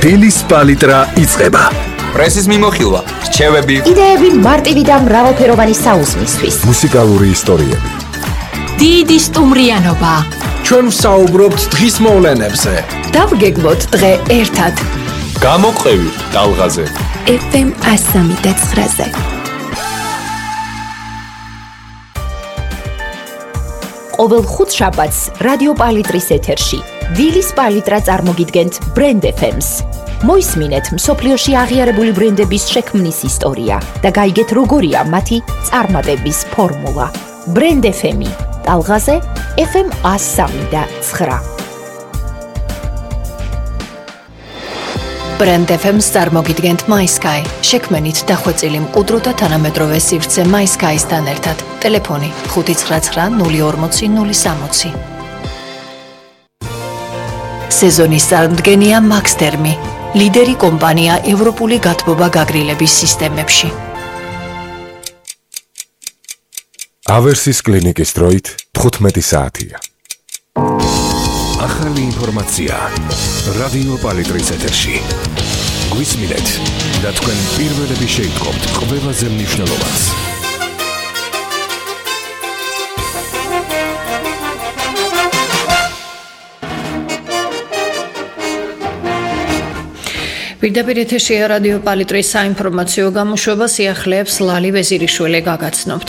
დილის პალიტრა იწყება. პრესის მიმოხილვა, რჩევები, იდეები მარტივი და მრავალფეროვანი საუზმისთვის. მუსიკალური ისტორიები. დიდი სტუმრიანობა. ჩვენ ვსაუბრობთ დღის მოვლენებზე. დავგეგმოთ დღე ერთად. გამოყევი ტალღაზე. FM 103.9-ზე. ყოველ ხუთშაბათს რადიო პალიტრის ეთერში დილის პალიტრა წარმოგიდგენთ Brand FM-ს. მოისმინეთ მსოფლიოში აღიარებული ბრენდების შექმნის ისტორია და გაიგეთ როგორია მათი წარმატების ფორმულა. Brand FM-ი ტალღაზე FM 103.9. Brand FM-ს წარმოგიდგენთ MySky. შექმნით დახვეწილი მყუდრო და თანამედროვე სივრცე MySky-სთან ერთად. ტელეფონი 599 040 060. სეზონის წარმომადგენია Maxtermi, ლიდერი კომპანია ევროპული გათბობა გაგრილების სისტემებში. ავერსის კლინიკის დროით 15 საათია. ახალი ინფორმაცია რადიო პალიტრის ეთერში. გვისმინეთ და თქვენ პირველები შეიტყობთ ყველაზე მნიშვნელოვანს. პირდაპირ ეთერშია რადიო პალიტრის საინფორმაციო გამოშვება, სიახლეებს ლალი ვეზირიშვილი გაგაცნობთ.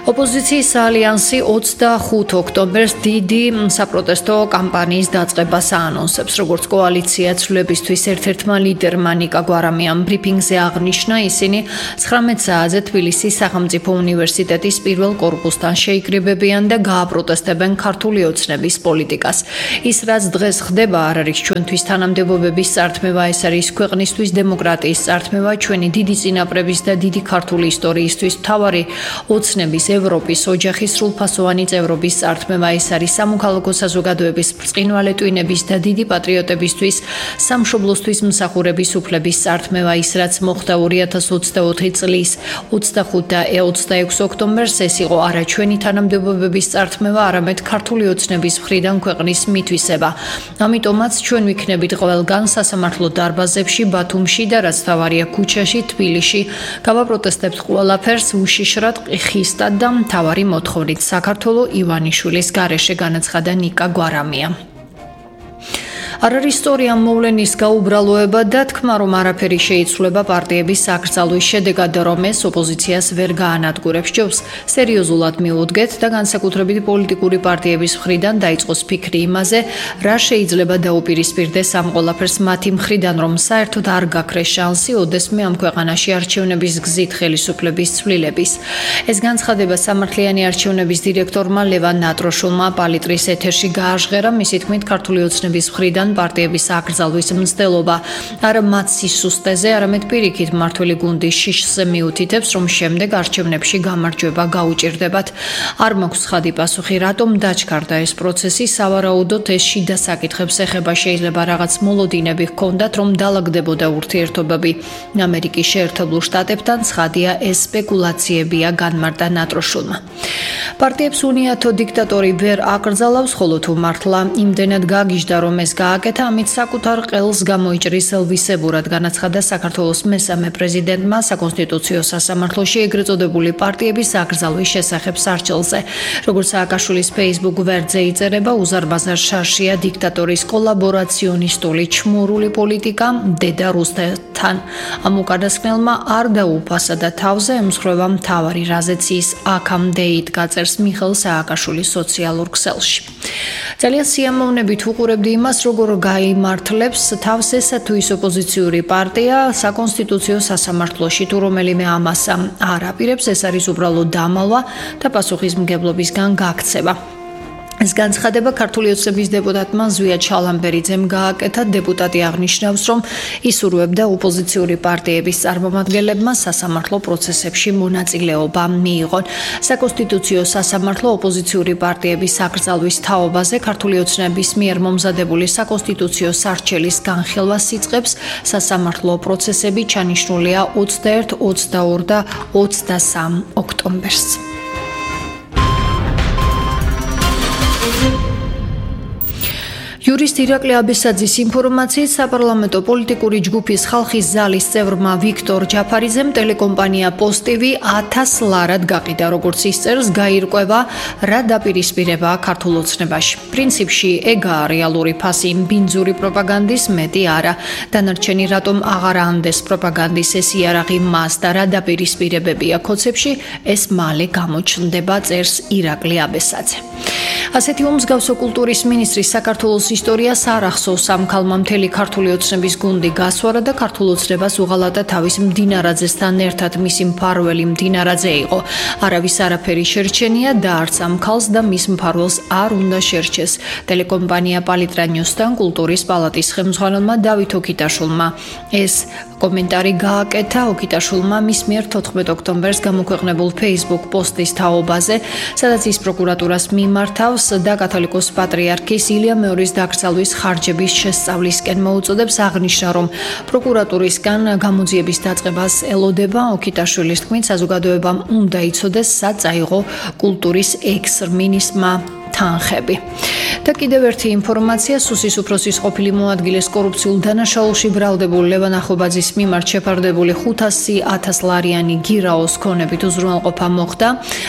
ოპოზიციის ალიანსი 25 ოქტომბერს დიდი საპროტესტო კამპანიის დაწყებას აანონსებს. როგორც კოალიცია ცვლილებისთვის ერთ-ერთმა ლიდერმა ნიკა გვარამიამ ბრიფინგზე აღნიშნა, ისინი 19 საათზე თბილისის სახელმწიფო უნივერსიტეტის პირველ კორპუსთან შეიკრიბებიან და გააპროტესტებენ ქართული ოცნების პოლიტიკას. ის რაც დღეს ხდება არ არის ჩვენთვის თანამდებობების წართმევა, ეს არის ქვეყნისთვის დემოკრატიის წართმევა, ჩვენი დიდი წინაპრების და დიდი ქართული ისტორიისთვის მთავარი ოცნების ევროპის ოჯახის სრულფასოვანი წევრობის წართმევა, ეს არის სამოქალაქო საზოგადოების ბრწყინვალე ტვინების და დიდი პატრიოტებისთვის სამშობლოსთვის მსახურების უფლების წართმევა, ის რაც მოხდა 2024 წლის 25 და 26 ოქტომბერს, ეს იყო არა ჩვენი თანამდებობების წართმევა, არამედ ქართული ოცნების მხრიდან ქვეყნის მითვისება. ამიტომაც ჩვენ ვიქნებით ყველგან სასამართლო დარბაზებში, ბათუმში და რაც თავარია ქუჩაში, თბილისში, გავაპროტესტებთ ყველაფერს უშიშრად, ხისტად და მთავარი მოთხოვნით საქართველოს ივანიშვილის გარეშე, განაცხადა ნიკა გვარამია. არ არის სწორი ამ მოვლენის გაუბრალოება და თქმა, რომ არაფერი შეიცვლება პარტიების აკრძალვის შედეგად, რომ ეს ოპოზიციას ვერ გაანადგურებს. ჯობს სერიოზულად მივუდგეთ და განსაკუთრებით პოლიტიკური პარტიების მხრიდან დაიწყოს ფიქრი იმაზე, რა შეიძლება დაუპირისპირდეს ამ ყველაფერს მათი მხრიდან, რომ საერთოდ არ გაქრეს შანსი ოდესმე ამ ქვეყანაში არჩევნების გზით ხელისუფლების ცვლილების. ეს განცხადება სამართლიანი არჩევნების დირექტორმა ლევან ნატროშულმა პალიტრის ეთერში გააჟღერა, მისი თქმით, ქართული ოცნების მხრიდან პარტიების აკრძალვის მცდელობა არ მათ სისუსტეზე, არამედ პირიქით მმართველი გუნდის შიშზე მიუთითებს, რომ შემდეგ არჩევნებში გამარჯვება გაუჭირდებათ. არ მაქვს ხადი პასუხი, რატომ დაჩქარდა ეს პროცესი, სავარაუდოდ ეს შიდა საკითხებს ეხება, შეიძლება რაღაც მოლოდინები ჰქონდათ, რომ დაალაგდებოდა ურთიერთობები ამერიკის შეერთებულ შტატებთან, ცხადია ეს სპეკულაციებია, განმარტა ნატროშულმა. პარტიებს უნიათო დიქტატორი ვერ აკრძალავს, ხოლო თუ მართლა იმდენად გაგიჟდა, რომ ეს გააკეთა, ამით საკუთარ ყელს გამოიჭრის ელვისებურად, განაცხადა საქართველოს მესამე პრეზიდენტმა საკონსტიტუციო სასამართლოში ეგრეთ წოდებული პარტიების აკრძალვის შესახებ სარჩელზე. როგორც სააკაშვილის Facebook ვერძე იწერება, უზარმაზარ შარშია დიქტატორის კოლაბორაციონისტული ჩმურული პოლიტიკა დედა რუსეთთან. ამ უკანასკნელმა არ დაუფასა და თავზე ემსხვერპლა მთავარი, რაზეც ის აქამდე იდგა, წერს მიხეილ სააკაშვილის სოციალურ ქსელში. ძალიან სიამოვნებით უყურებდი იმას, როგორ გაიმართლებს თავს ესა თუ ის ოპოზიციური პარტია საკონსტიტუციო სასამართლოში, თუ რომელიმე ამას არ აპირებს, ეს არის უბრალოდ დამალვა და პასუხისმგებლობისგან გაქცევა. ეს განცხადება ქართული ოცნების დეპუტატმა ზვია ჩალამბერიძემ გააკეთა. დეპუტატი აღნიშნავს, რომ ისურვებდა ოპოზიციური პარტიების წარმომადგენლებმა სასამართლო პროცესებში მონაწილეობა მიიღონ. საკონსტიტუციო სასამართლო ოპოზიციური პარტიების აკრძალვის თაობაზე ქართული ოცნების მიერ მომზადებული საკონსტიტუციო სარჩელის განხილვას იწყებს. სასამართლო პროცესები ჩანიშნულია 21, 22 და 23 ოქტომბერს. იურისტ ირაკლი აბესაძის ინფორმაციით, საპარლამენტო პოლიტიკური ჯგუფის ხალხის ზალის წევრმა ვიქტორ ჯაფარიძემ ტელეკომპანია პოსტივი 1000 ლარად გაყიდა, როგორც ის წერს, გაირკვევა რა დაპირისპირებაა ქართულ ოცნებაში. პრინციპში ეგაა რეალური ფასი ბინძური პროპაგანდის, მეტი არა. დანარჩენი რატომ აღარ ანდეს პროპაგანდის ეს იარაღი მას და რა დაპირისპირებებია ქოცებში, ეს მალე გამოჩნდება, წერს ირაკლი აბესაძე. ასეთი უმსგავსო კულტურის მინისტრის საქართველოს ისტორიას არ ახსოვს. ამ ქალმა მთელი ქართული ოცნების გუნდი გასვარა და ქართულ ოცნებას უღალატა თავის მდინარაძესთან ერთად. მისი მფარველი მდინარაძე იყო. არავის არაფერი შერჩენია და არც ამ ქალს და მის მფარველს არ უნდა შერჩეს. ტელეკომპანია პალიტრა ნიუსთან კულტურის პალატის ხელმძღვანელმა დავით ოკიტაშვილმა ეს კომენტარი გააკეთა. ოკიტაშვილმა მის მიერ 14 ოქტომბერს გამოქვეყნებულ Facebook პოსტის თაობაზე, სადაც ის პროკურატურას მიმართავს და კათოლიკოს პატრიარქის ილია მეორის დაკრძალვის ხარჯების შესწავლისკენ მოუწოდებს, აღნიშნა, რომ პროკურატურისგან გამოძიების დაწყებას ელოდება. ოკიტაშვილის თქმით, საზოგადოებამ უნდა იცოდეს, სად წაიღო კულტურის ექს-მინისტრმა თანხები. და კიდევ ერთი ინფორმაცია, სუსის უფროსის ყოფილი მოადგილეს კორუფციულ დანაშაულში ბრალდებულ ლევან ახობაძის მიმართ შეფარდებული 500.000 ლარიანი გირაოს ქონებით უზრუნველყოფა მოხდა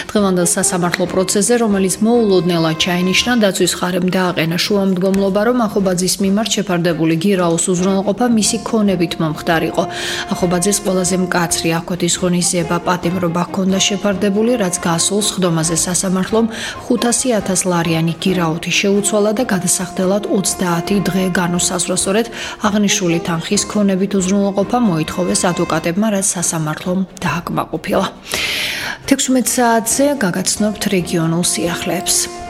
დღევანდელ სასამართლო პროცესზე, რომელიც მოულოდნელად ჩაინიშნა. დაცვის ხარემ დააყენა შუამდგომლობა, რომ ახობაძის მიმართ შეფარდებული გირაოს უზრუნველყოფა მისი ქონებით მომხდარიყო. ახობაძეს ყველაზე მკაცრი აღკვეთის ღონისძიება პატიმრობა ჰქონდა შეფარდებული, რაც გასულ სხდომაზე სასამართლომ 500.000 ლარიანი გირაოთი შეუცვალა და გადასახდელად 30 დღე განუსაზღვრა. სწორედ აღნიშნული თანხის ქონებით უზრუნველყოფა მოითხოვეს ადვოკატებმა, რაც სასამართლომ დააკმაყოფილა. 16 საათზე გაგაცნობთ რეგიონულ სიახლეებს.